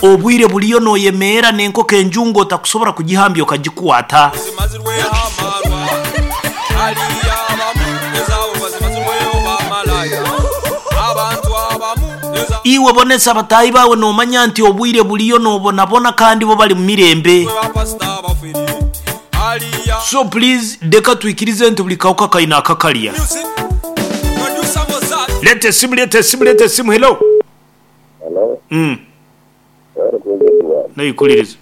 Obwire buriyo noyemeera n'enkoko enjungu otakusobora kugihambya okagikwata. Iwe bonesa bataahi baawe noomanya nti obwire buriyo noobonabona kandi bo bari mu mirembe. So please reka twikirize nti buri kahuka kaine akakarya. Leeta esimu leeta esimu leeta esimu hello. Hello, Mm. webale kuweza Edward. Naikuririza.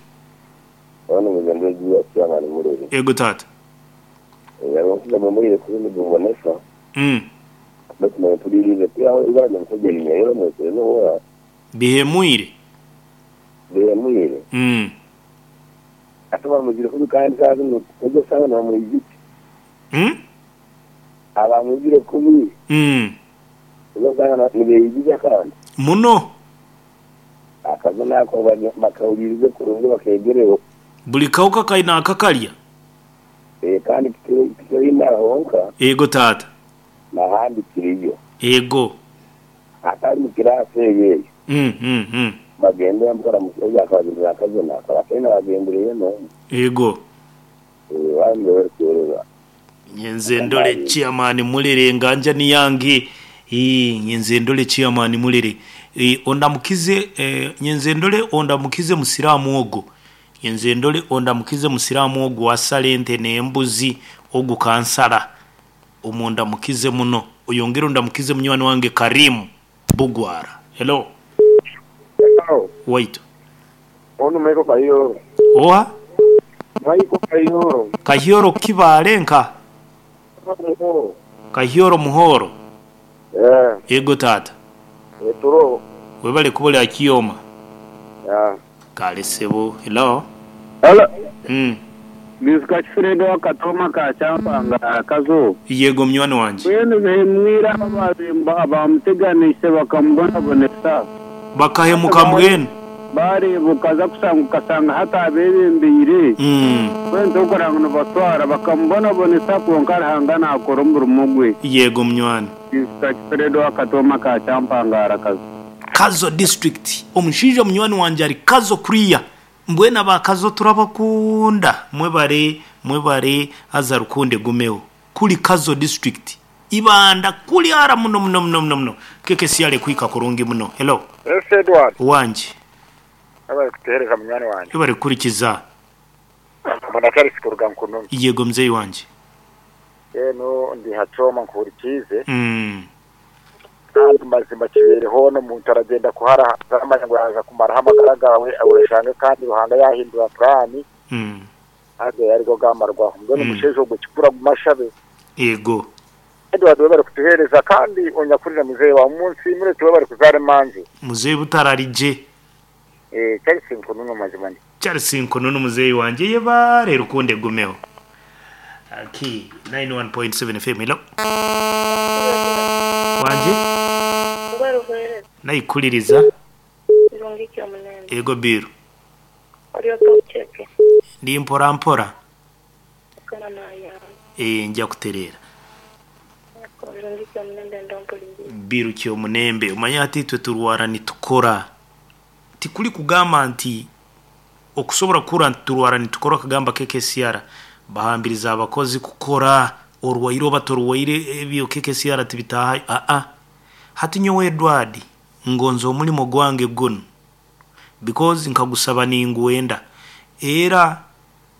Ono muze ndi ya chairman Mulere. Ego taata. Yaba omusiza mwemureire kuba nigubonesa. Baitu mwempuririize kwihaho ibara ry'omushaija rinyayora mwetereze owa. Bihemwire. Bihemwire. Ate bamwizire kubi kandi saaha zinu ego saaha nibamwijukya. Abamwizire kubi. Ego saaha nibeyijuza kandi. Muno. Akazina ako bakahuriirize kurungi bakeegereho. Buri kahuka kaine akakarya. Kandi tikiri Imara honka. Eego taata. N'ahandi kiriyo. Eego. Atari mu kiraasi eyo eyo. Bagendera mpora omushaija akabazindura akazina akaba ataine owagendereire n'omwe. Eego. Bambi webare kuheereza. Nyenze ndore chairman Mulere nganja ni yange Ii nyenze ndore chairman Mulere Ii ondamukize eh nyenze ndore ondamukize musiraamu ogo Nyenze ndore ondamukize musiraamu ogu asala ente n'embuzi ogu kansala Omundamukize muno Oyongere ondamukize munywani wange Karim Bugwara Hello Hello. Waitu. Onu Michael Kahioro. Oha? Michael Kahioro. Kahioro Kibaale nka? Muhoro. Kahioro Muhoro. Eh. Ego taata. Eturo. Webale kuba ori aha Kioma. Yeah. Kale sebo. Hello. Hello. Niijuka Kifred owa Katooma ka Kyampanga aha Kazo. Yego munywani wangye. Mbwenu bihemwire abo abaabaire baamuteganiise bakamubonabonesa. Bakahemuka mbwenu. Baareeba okaza kushanga okashanga hati abeebembeire. Mbwenu torikureeba ngu nibatwara. Bakamubonabonesa kwonka Ruhanga naakora omurimo gwe. Yego munywani. Niijuka Kifred owa Katooma ka Kyampanga ahari Kazo. Kazo district. Omushaija munywani wangye ari Kazo kuriya. Mbwenu aba Kazo turabakunda mwebare mwebare haza rukundo egumeho kuri Kazo district Ibanda kuri hara muno muno muno muno muno KKCR ekuhika kurungi muno hello. Yes Edward. Wangi. Webale kutuhereza munywani wangye. Webale kuhurikiza. Mbona Charles kuruga Nkunumi. Yego muzeyi wangye. Mbwenu ndi ha kyoma nkuhurikiize. Kandi mazima kibeere hoona omuntu aragyenda kuhara aramanya ngu yaaza kumaraho amagara gaawe oshange kandi Ruhanga yaahindura puraani haza arigo gaamarwaho. Mbwenu omushaija ogwo kikuru agume ashabe. Yego. Edward webare kutuhereza kandi onyakurire muzeeyi waawe omunsiimire oti webare kuzaara emanzi. Muzeeyi butararigye. Charles Nkununu mazima ndi. Charles Nkununu muzeeyi wangye yebare rukundo egumeho. Aki 91.7 FM hello. Wangye. Naikuririza. Ego Bill. Ndi mpora mpora. Eeh nja kutereera. Bill Kyomunembe omanye hati itwe turwara nitukora. Tikuri kugamba nti okusobora kuhurra nti turwara nitukora okagamba KKCR bahambiriza abakozi kukora orwaire oba torwaire ebyo KKCR tibitahayo aa. Hati nyowe Edward ngonza omurimo gwange gunu because nkagusaba ningwenda era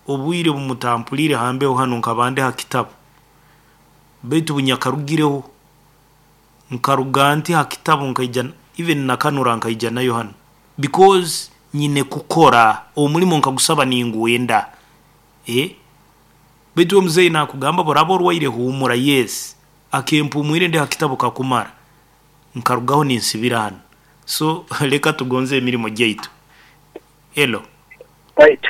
obwire bumutampuriire ha mbeho hanu nkaba ndi ha kitabu beitu bunyakarugireho Nkaruga nti ha kitabu nkaija even na kanura nkaija nayo hanu because nyine kukora omurimo nkagusaba ningwenda eh beitu iwe muzeeyi nakugamba boraba orwaire huumura yes akempumwire ndi ha kitabu kakumara nkarugaho ninsibira hanu so leka tugonze emirimo gyaitu. Hello. Right.